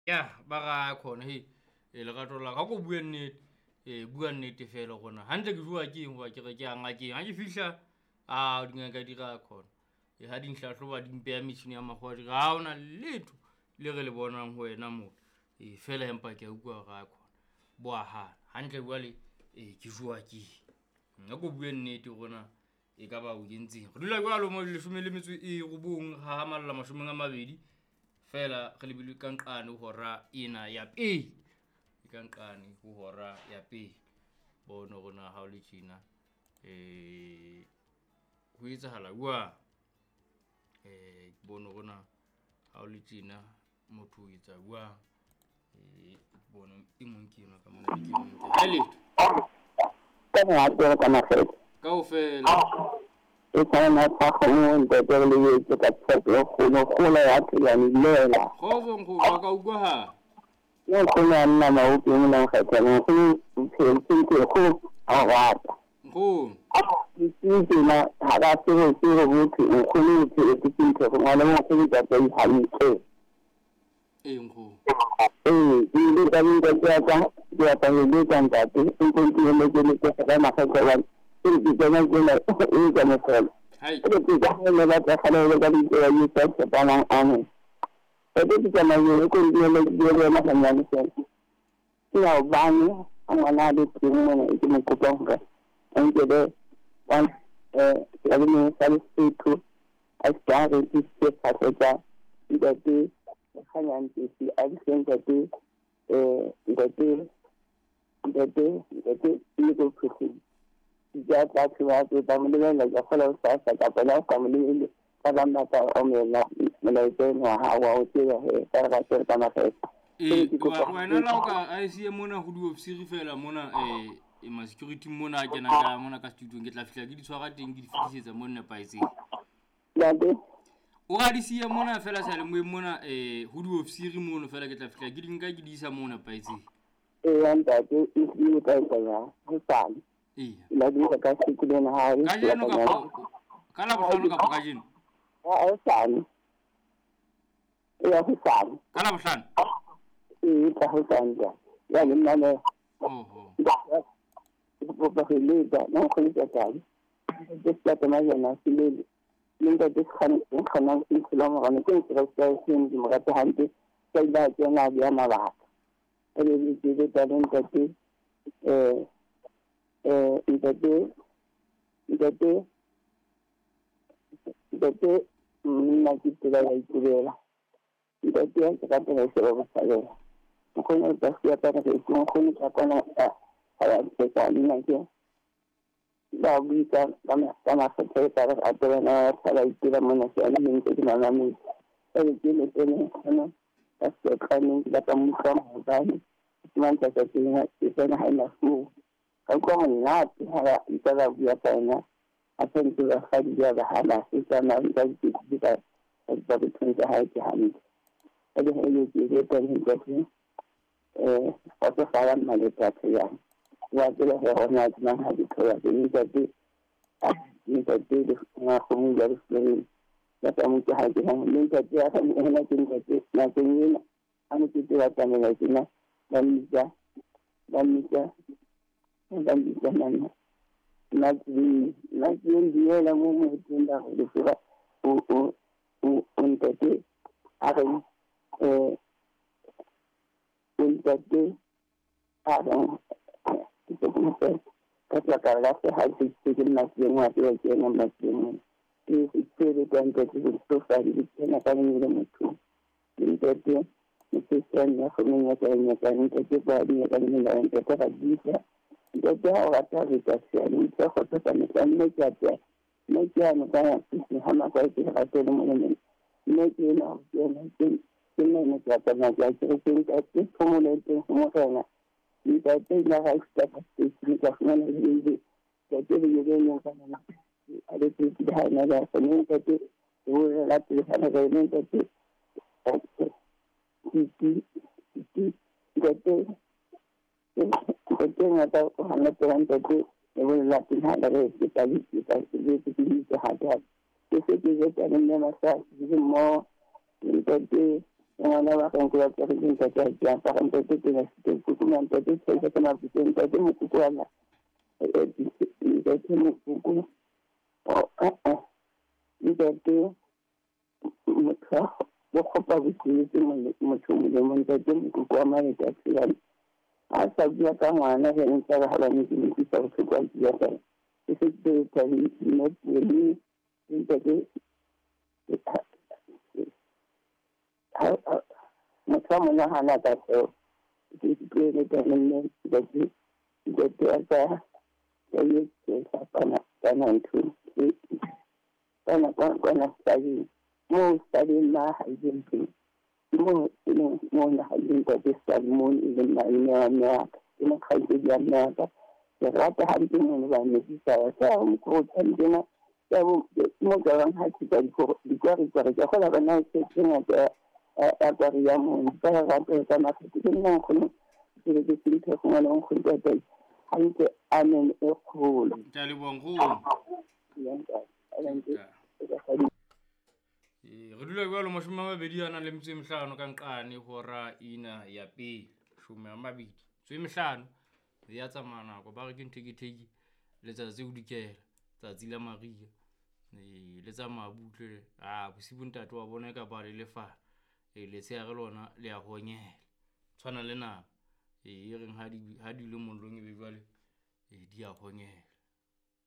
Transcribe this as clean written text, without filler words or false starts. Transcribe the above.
Ya ba ra khona he e lerato la ka ko bue nnete, e bua nnete fela rona hantle ke jowa ke eng hoba ke re ke ya ngakeng. Ha ke fihla a dingaka di ra khona e ha di nhlahloba di mpeha metjhini ya makgowa di re ha hona letho le re le bonang ho wena mo. E fela empa ke a utlwa hore a khona bo a hana hantle jwale e ke jowa ke eng. A ko bue nnete hore na ekaba o kentseng. Re dula jwalo mo 19 hahamalla 20 fela re lebile ka nqane ho hora ena ya pele. E ka nqane ho hora ya pele. Bone hore na ha o le tjena ho etsahala jwang. Bone hore na ha o le tjena motho o etsa jwang. Bone e mong ke enwa ka mona ke mong ke ha letho. Ka monate ka makgetho. Kaofela. E tshwana tsa kgomo ntate re lebetse ka tshepo e kgolo kgolo ya Tselane dumela. Kgotso nkgono wa ka utlwahala. Ke nkgono ya nna maoto mona Nkgethwane nkgono bophelo ke ntho e kgolo ha o rata. Nkgono. Bosiu tjena ha ba tsebe tsebe hothwe nkgono bophelo ke ntho e ngwana nkgono tsa hantle. Ee nkgono. Ee, ke ile ka ntate ya ka ke ya ka le ntate o ntse ke le ke le ka makgetho hobane ke re ke tsena tsena e ka mohlolo. Hai. Ke ke ka ne ba tla kgale le ka ditsela di sa tshepanang amen. Ke ke tsamaye ko ke le ke le yena hanyane fela. Ke ya hobane ha ngwana a le teng mona e ke mo kopang hore a nkele one seyalemoyeng sa Lesotho a se a rekisitse phahlo tsa ntate Kganyang a di fe ntate ntate ntate ntate le ko Phokeng. Ke a tla tseba ke tla mo lebella ke kgola ho sasa kapa le ha o sa mo lebelle ba bang ba tla omella molaetsa eno wa hao wa o tseba he ka re ka tsere ka makgetho. Ee, Ke kopa wena la o ka a siye mona ho diofisiri fela mona ma security mona a kenang ka mona ka studio ke tla fihla ke di tshwara teng ke di fetisetsa mo nepahetseng. Ntate O ra di siye mona fela seyalemoyeng mona ho diofisiri mono fela ke tla fihla ke di nka ke di isa mo nepahetseng. Eya ntate e hlile o tla etsa jwang hosane. Eya. La di ka siku lena ha e Kajeno kapa ka Labohlano kapa kajeno? Hosane. Eya hosane. Ka Labohlano? Ee ka hosane ja. Ya le nna le. Oho. Ke kopa ho letsa nna nkgono ke tla ke se ka majana se lele. Le ntate Kgane ke nkgono morana ke ntse re sa se ndi mo rata hampe ka ile a kena a bea mabaka. E le ke le tsa ntate ntate ntate ntate nna ke tsela ya itebela. Ntate ya ke rata ho sheba botshabela. Nkgono o tla siya ka re ke nkgono ka kwana a ya tsa nna ke ba bui ka ka makgetho e ka re a tsebana ya tshala itebela mona se ana ntse ke mamametse. E le ke le tene nkgono ka setlaneng ke batla mo utlwa maobane. Ke mantsa tsa teng ke tsena ha ena foo. Ka utlwa monate ha ba ntse ba bua ka yena. A sentse basadi ba ba hana se tsamaya ka dipitse ka tsa bothong tsa hae ke hantle. E le he le ke le teng ntate kgotsofala mmaletsatsi yang. Wa tseba hore hona ke mang ha di thola ke ntate ntate le nkgono ya le ya ka mo ke ha ke ha le ntate ya ka ena ke ntate nakong ena ha mokete wa tsamaya tjena ba mmitsa ba mmitsa ba mmitsa nana nna ke duela mo motseng ba re tseba o o ntate a re o ntate a re ke ke ka tlaka la se ha ke ke nna ke ngwa ke ke nna ke nna ke ke le ka ntate ke tlo fa di tsena ka le motho ntate ke se nna go nna ka nna ka ntate ba di ka nna ntate ga di ntate ha o rata re ka se le tsa go tsa me nne ke a tsa nne ke a no ka ke ha ma ka ke rate le mo le nne ke na ke na ke ke nne ke a tsa ke ke ke ntate phomolo teng go morena ntate la ga se ka se ke ka fumana le le ntate le le le ka nna a le ke ke ha na la se ntate o re la pele ha re ntate ke ke ke ntate ntate ngata o hana tsela ntate e bolela pele ha re ke tla ke tla ke ke ke ha ke ke se ke ke tsa nne masa ke mo ntate Ngwana wa ka nko ya tsere ntate ha ke apara ntate ke na site kuku ntate tshela ka mabitso ntate mokoko wa la ntate mokoko ntate motho bo kgopa bosebetsi motho molemo ntate mokoko wa maleta tsela a sa bua ka ngwana re ntse re halane ke utlwisa bohloko a bua fela ke se ke thabile mme ntate motho wa monahana ka seo ke tlohele mme ntate ntate wa ka kana ntho kana kwana stadium mo stadium ma haileng teng mo e mo na haileng ntate stadium mo e leng malome wa mme wa ka ke mokgaitsedi wa mme wa ka ke rata hampe mono ba medisa wa sa mokgotshwane tjena mo ka bang ha tshika dikwarikwari ke kgola bana tse ngata ya kwari ya mono ka rata ka makgetho ke nna nkgono ke ke senthe go ngwana nkgono ntate hantle amen e kgolo. Ke a leboha nkgono. Re dula jwalo 25 ka nqane hora ina ya pele 25 ya tsamaya nako ba re ke ntheketheki letsatsi o dikela tsatsi la mariha le tsamaya butle a bosibu ntate wa bona ka ba le lefala letshehare lona le a honyela tshwana le nama e reng ha di le mollong e be jwale di a honyela.